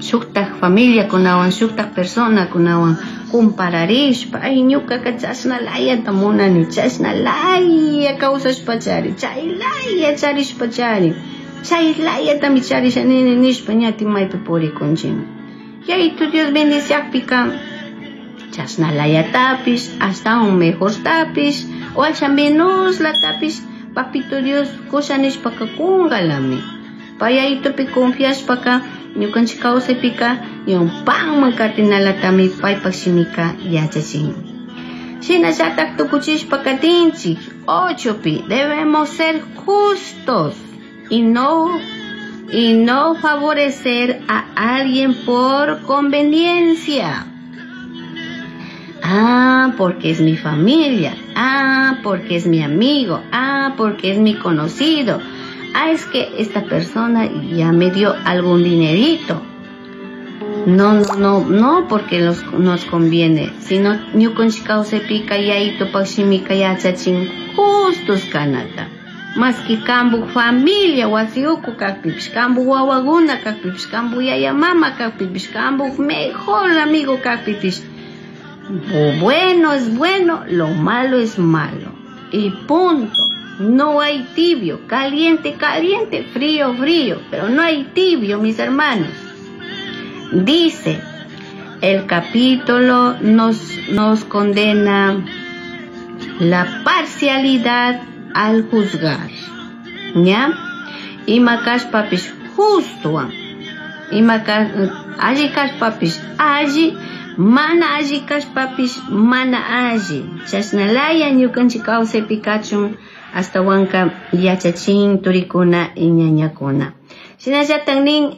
Shuktak familiakunawan, shuktak personakunawan compararishpa, ay ñukaka chashna layata munani, chashna laya kawsashpachari, chay laya charishpachari, chay layatami charisha nini nishpa ñati maypi purikunchikmi. Yayitu Dios bendiciakpika chashna layatapish, ashtawan mejortapish, o asha menoslatapish, papito Dios kusha nishpaka kungalami. Pay Yayitupi confiashpaka ñukanchik kawsaypika ñawpanman katinalatami paypak shimika yachachin. Shinallatak tukuchishpa katinchik 8pi debemos ser justos y no favorecer a alguien por conveniencia. Ah, porque es mi familia. Ah, porque es mi amigo. Ah, porque es mi conocido. Ah, es que esta persona ya me dio algún dinerito. No, no, no, no porque nos conviene, sino ñukanchik kawsaypika Yayitupak shimika yachachin justos kanata. Maski kambu familia wasi uku kakpipish, kambu wawakuna kakpipish, kambu yaya mama kakpipish, kambu mejor amigo kakpipish. Lo bueno es bueno, lo malo es malo. Y punto. No hay tibio, caliente, caliente, frío, frío, pero no hay tibio, mis hermanos. Dice, el capítulo nos condena la parcialidad al juzgar. ¿Ya? Ima kashpapish justo. Ima alli kashpapish alli, mana alli kashpapish mana alli. Chashnalaya ñukanchik kawsaypi kachun ashtawanka yachachin turikuna y ñañakuna. Shinallatak nin,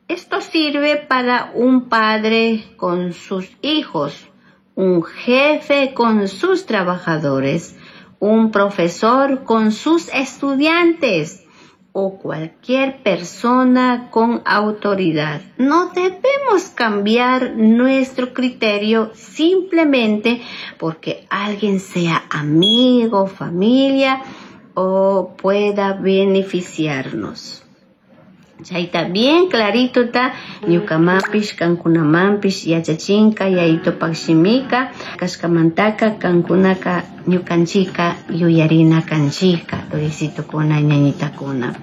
esto sirve para un padre con sus hijos, un jefe con sus trabajadores, un profesor con sus estudiantes o cualquier persona con autoridad. No debemos cambiar nuestro criterio simplemente porque alguien sea amigo, familia o pueda beneficiarnos. Chayta bien clarito ta ñukamanpish kankunamanpish yachachinka Yayitupak shimika kashkamantaka kankunaka ñukanchika yuyarina kanchika turisitukuna ñañitakuna.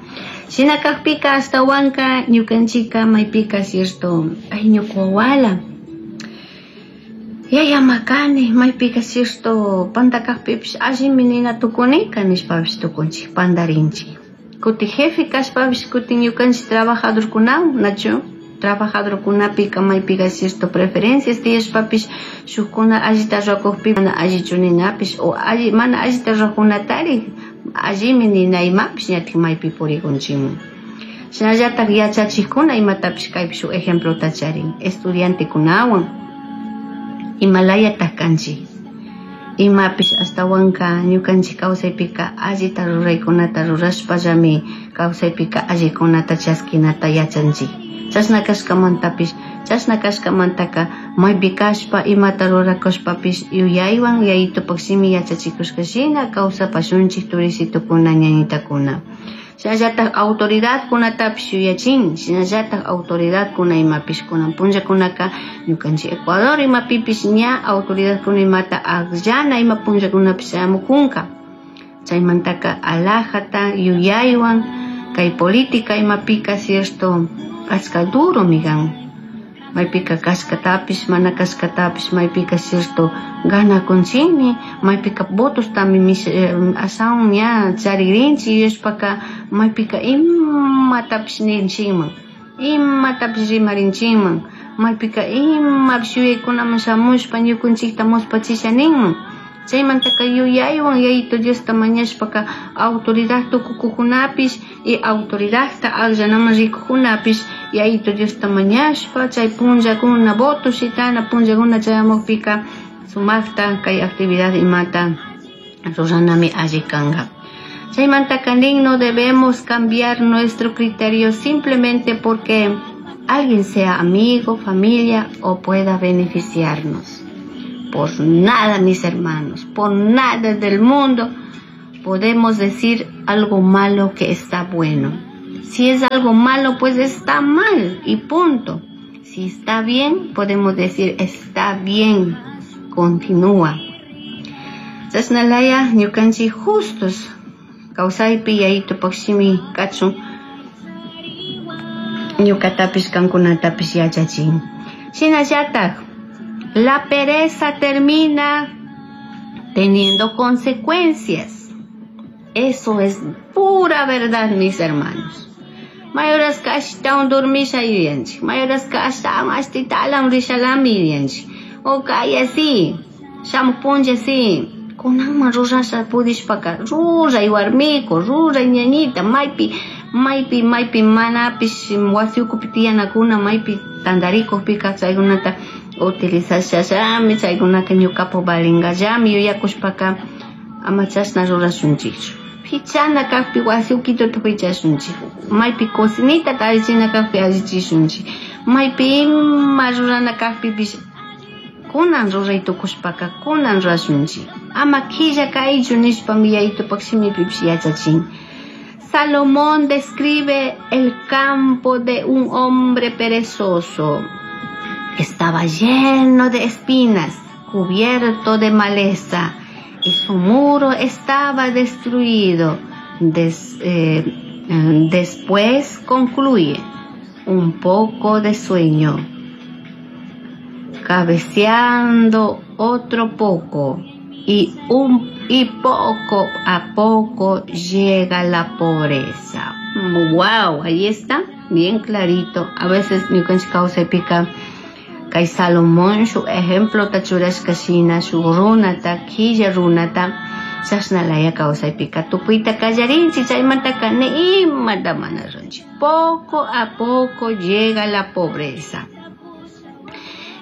Shina kakpika ashtawanka ñukanchika maypika cierto ay ñuka wawala yaya makani maypika cierto panda kakpipish allimi nina tukunika nishpapish tukunchik pandarinchik. Kuti jefe kashpapish kutin ñukanchik trabajadorkunawan nachu trabajadorkunapika maypika cierto preferencias tiyashpapish shukkuna allita rurakukpi mana allichu ninapish o alli mana allita rurakkunatari allimi nina imapish ñatik maypi purikunchikman. Shinallatak yachachikkuna imatapish kaypi shuk ejemplota charin estudiantekunawan imalayatak kanchik. Imapish ashtawanka ñukanchik kawsaypika allita ruraykunata rurashpallami kawsaypika allikunata chaskinata yachanchik. Chashna kashkamantapish chashna kashkamantaka maypi kashpa imata rurakushpapish yuyaywan Yayitupak shimi yachachikushka shina kawsapashunchik turisitukuna ñañitakuna. Shinallatak autoridadkunatapish yuyachin, shinallatak autoridadkuna imapish kunan punllakunaka ñukanchik Ecuador imapipish ña autoridadkuna imata akllana ima punllakunapish chayamukunka. Chaymantaka alajata yuyaywan kay política imapika cierto achka duromi kan. Maypika kashkatapish mana kashkatapish maypika cierto ganakunchikmi maypika votostami ashawan ña charikrinchik yuyashpaka maypika imatapish ninchikman imatapish rimarinchikman maypika imapish yuyaykunaman shamushpa ñukanchikta muspachisha ninman. Chaymantaka yuyaywan Yayitu Diosta mañashpaka autoridad tukukukunapish y autoridadta akllanaman rikukunapish Yayitu Diosta mañashpa chay punllakuna voto shitana punllakuna chayamukpika sumakta kay actividad imata ruranami alli kanka. Chaymantaka nin no debemos cambiar nuestro criterio simplemente porque alguien sea amigo, familia o pueda beneficiarnos. Por nada, mis hermanos, por nada del mundo podemos decir algo malo que está bueno. Si es algo malo, pues está mal y punto. Si está bien, podemos decir está bien, continúa. Chashnalaya ñukanchik justos kawsaypi Yayitupak shimi kachun ñukatapish kankunatapish yachachin. Shinallatak la pereza termina teniendo consecuencias. Eso es pura verdad, mis hermanos. Mayoraska ashtawan dormisha yuyanchik, mayoraska ashtawan ashtitalan rishalami yuyanchik. O kaya si, shamuj punlla si, kunanman rurasha pudishpaka, ruray warmiku, ruray ñañita, maypi, maypi, maypi manapish wasi ukupi tiyanakuna, maypi tantarikukpika chaykunata utilizashallami, chaykunaka ñukapak valingallami yuyakushpaka ama chashna rurashunchikchu. Pichana kakpi wasi ukituta pichashunchik, maypi cocinita allichina kakpi allichishunchik, maypi ima rurana kakpipish kunan ruray tukushpaka kunan rurashunchik. Ama killa kaychu nishpami Yayitupak shimipipish yachachin. Salomón describe el campo de un hombre perezoso. Estaba lleno de espinas, cubierto de maleza, y su muro estaba destruido. Después concluye, un poco de sueño, cabeceando otro poco, y poco a poco llega la pobreza. ¡Wow! Ahí está, bien clarito. A veces ñukanchik kawsaypika kay Salomón su ejemplo tachurashka shina shuk runata, killa runata, chashnalaya kawsaypika tukuyta kallarinchik, chaymantaka ni imata mana runchik. Poco a poco llega la pobreza.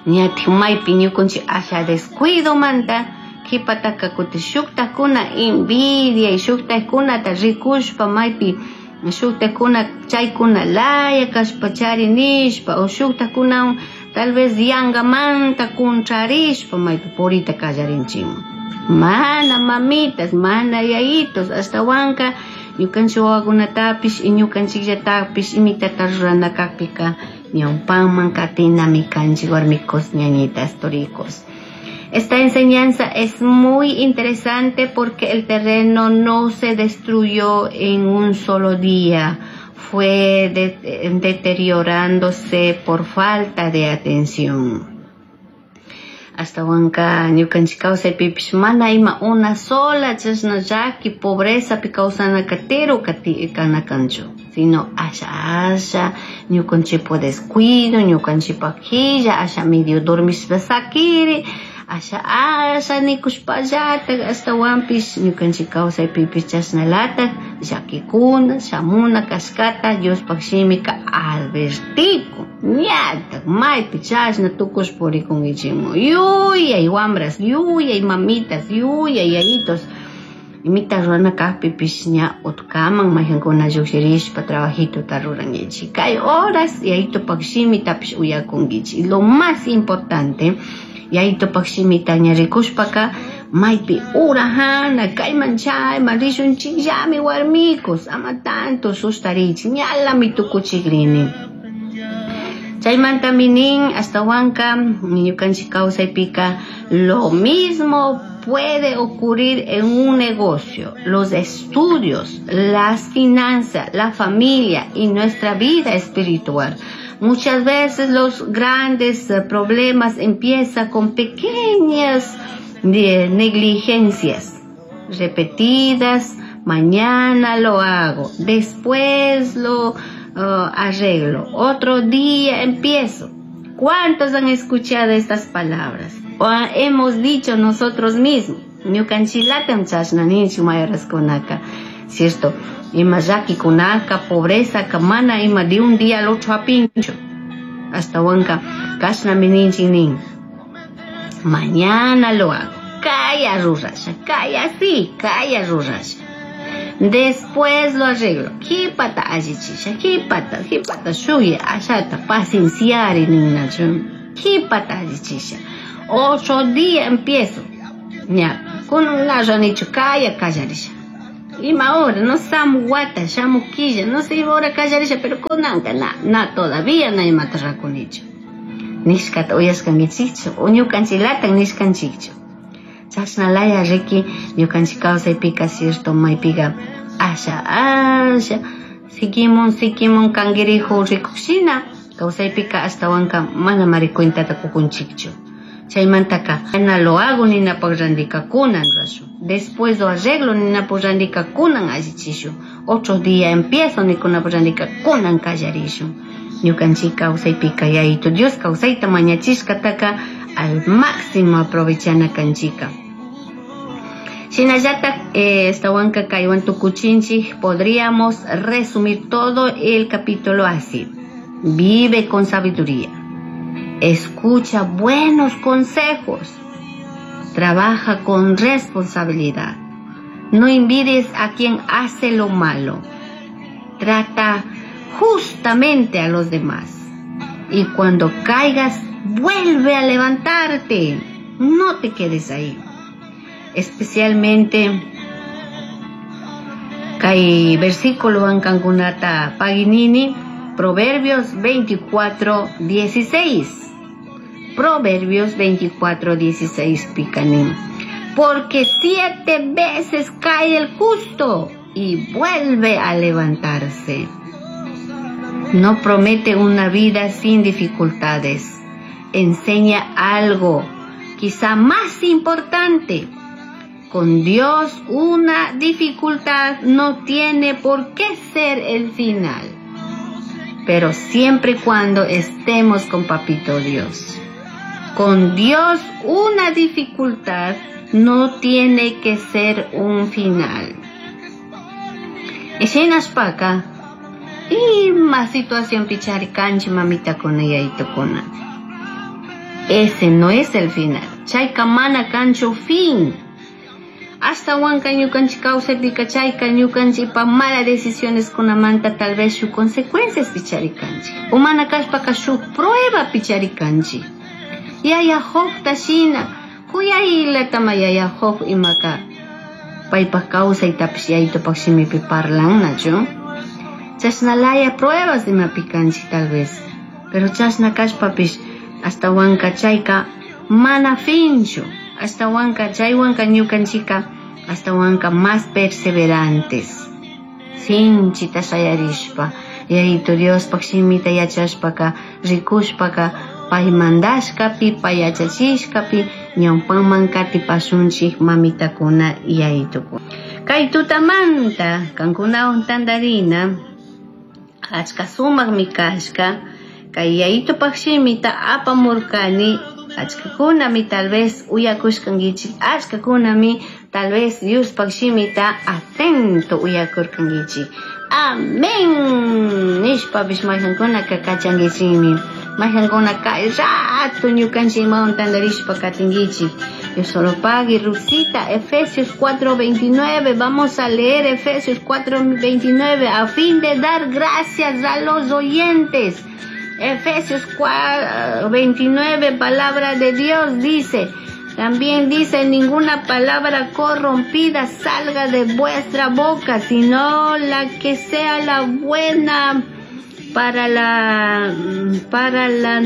Ñatik maypi ñukanchik asha descuido manta, kipataka kutin shuktakuna envidia y shuktakunata rikushpa maypi shuktakuna chaykuna laya kashpa chari nishpa, o shuktakuna tal vez yangamanta contrarishpa maypi purita kallarinchikman. Mana mamitas, mana yayitos, ashtawanka ñukanchik wawakunatapish y ñukanchikllatapish imitata rurana kakpika ñawpanman katinami kanchik warmikos, ñañitas, toricos. Esta enseñanza es muy interesante porque el terreno no se destruyó en un solo día, fue deteriorándose por falta de atención. Ashtawanka ñukanchik kawsaypipish mana ima una sola chashna llaki pobrezapi kawsana katero kana kanchu, sino asha asha ñukanchikpa descuido, ñukanchikpa quilla, asha medio dormishpa sakiri, asha asha nikushpallatak, ashtawanpish ñukanchik kawsaypipish chashnalatak llakikuna shamuna kashkata Diospaj shimika advertikun. Ñatak maypi chashna tukushpa purikunkichikman. Yuyay wambras, yuyay mamitas, yuyay yayitos. Imita rurana kakpipish ña utkaman mayjankuna llukshirishpa trabajituta rurankichik. Kay horas yayitupaj shimitapish uyakunkichik. Lo más importante, yayitupaj shimita ña rikushpaka maypi urajana kayman chayman rishunchikllami warmikos, ama tanto sustarichik, ñalami tukuchikrini. Chaymantami nin ashtawanka ñukanchik kawsaypika lo mismo puede ocurrir en un negocio, los estudios, las finanzas, la familia y nuestra vida espiritual. Muchas veces los grandes problemas empiezan con pequeñas negligencias repetidas. Mañana lo hago, después lo arreglo, otro día empiezo. ¿Cuántos han escuchado estas palabras? O hemos dicho nosotros mismos. Ñukanchilatam chashna ninchik mayoraskunaka, ¿cierto? Ima llakikunaka, pobreza, mana ima de un día al otro apincho. Hasta wanka kashnami ninchik nin. Mañana lo hago. Kaya rurasha, kaya sí, kaya rurasha. Después lo arreglo. Kipata allichisha, kipata, kipata shuya, ashata, pacienciar ninnachu. Kipata allichisha. Otro día empiezo. Ya, con una ranicho kaya kallarisha. Ima hora, no shamu wata, shamu killa, no sé ima hora kallarisha, pero kunanka na, na todavía na imata rakunichu. Nishkata uyashkankichikchu, o ñukanchiklatan nishkanchikchu. Chashna laya riki ñukanchik kawsaypika cierto maypiga asha asha sikimun sikimun kankirihu rikushina kawsaypika ashtawanka mana mari cuentata kukunchikchu. Chaymantaka ana lo hago ninapaq randika kunan rashun. Después lo arreglo ninapaq randika kunan allichishun. Otro día empiezo nikunapaq randika kunan kallarishun. Ñukanchik kawsaypika Yayito Dios kawsayta mañachishkataka al máximo aprovechana kanchika. Shinallatak, estawanka kaywan tukuchinchik, podríamos resumir todo el capítulo así. Vive con sabiduría. Escucha buenos consejos. Trabaja con responsabilidad. No envidies a quien hace lo malo. Trata justamente a los demás. Y cuando caigas, vuelve a levantarte. No te quedes ahí. Especialmente, kay versículo ankankunata paginini, Proverbios 24:16. Proverbios 24:16 picanim. Porque 7 veces cae el justo y vuelve a levantarse. No promete una vida sin dificultades. Enseña algo, quizá más importante. Con Dios una dificultad no tiene por qué ser el final. Pero siempre y cuando estemos con Papito Dios. Con Dios una dificultad no tiene que ser un final. Eshenashpaka, ima situación pichari kanchi mamita con ella y tocona. Ese no es el final. Chayka mana kancho fin. Hasta huanca ñukanchi kawsaypika chayka ñukanchi pa mala decisiones kunamanta tal vez shu consecuencias pichari kanchi. Umana kashpaka shu prueba pichari kanchi. Yaya Job tashina, kuyaylatama yaya Job imaka. Paypaj kawsaytapish yaytupak shimipi parlannachu. Chashnalaya pruebas imapi kanchi tal vez. Pero chashna kashpapish hasta huanca chayka mana finchu. Hasta huanca chaywanka ñukanchika hasta huanca más perseverantes. Sinchita shayarishpa, Yayito Diospaj shimita yachashpaka, rikushpaka, pay mandashkapi, pay yachachishkapi, ñawpanman katipashunchik mamitakuna yayitokuna. Kay tutamanta, kankunawan tantarina, achka sumakmi kashka, kay yayitopaj shimita apamurkani, achkakunami tal vez uyakushkankichik, achkakunami tal vez Diospaj shimita atento uyakurkankichik. Amén. Nishpapish mayqankunaka kachankichikmi. Mayqankuna kay rato ñukanchik imawan tantarishpa katinkichik. Dios solo pague, Rusita, Efesios 4:29. Vamos a leer Efesios 4:29 a fin de dar gracias a los oyentes. Efesios 29, palabra de Dios dice, también dice, ninguna palabra corrompida salga de vuestra boca, sino la que sea la buena para la, para la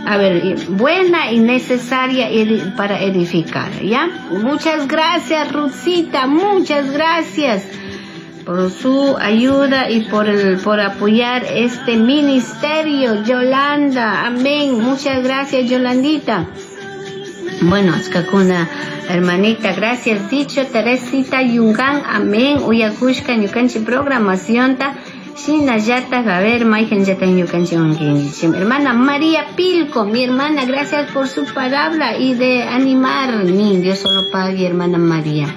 a ver, buena y necesaria para edificar, ¿ya? Muchas gracias, Ruthcita, muchas gracias por su ayuda y por apoyar este ministerio, Yolanda, amén. Muchas gracias, Yolandita. Bueno, Achkakuna, hermanita, gracias. Dicho Teresita Yungan, amén. Uyakushka, ñukanchi programación ta. Shinallata, a ver, Maigen yata ñukanchi wankinchim. Hermana María Pilco, mi hermana, gracias por su palabra y de animar. Mi Dios solo pague, hermana María.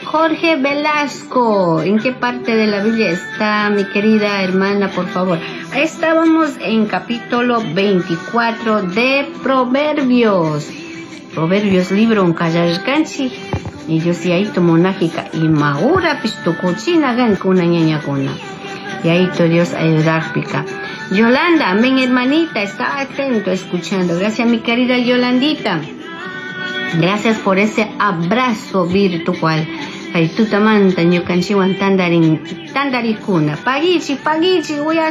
Jorge Velasco, ¿en qué parte de la Biblia está mi querida hermana, por favor? Estábamos en capítulo 24 de Proverbios. Proverbios libro un kallarkanchi. Y yo sí ahí tomo nájica y maura pistucuchina gan kuna ñaña kuna. Y ahí tu Dios ayudar pica. Yolanda, amén hermanita, está atento escuchando. Gracias mi querida Yolandita. Gracias por ese abrazo virtual. Kay tutamanta ñukanchikwan tandarin tandarikuna. Paguichi, paguichi.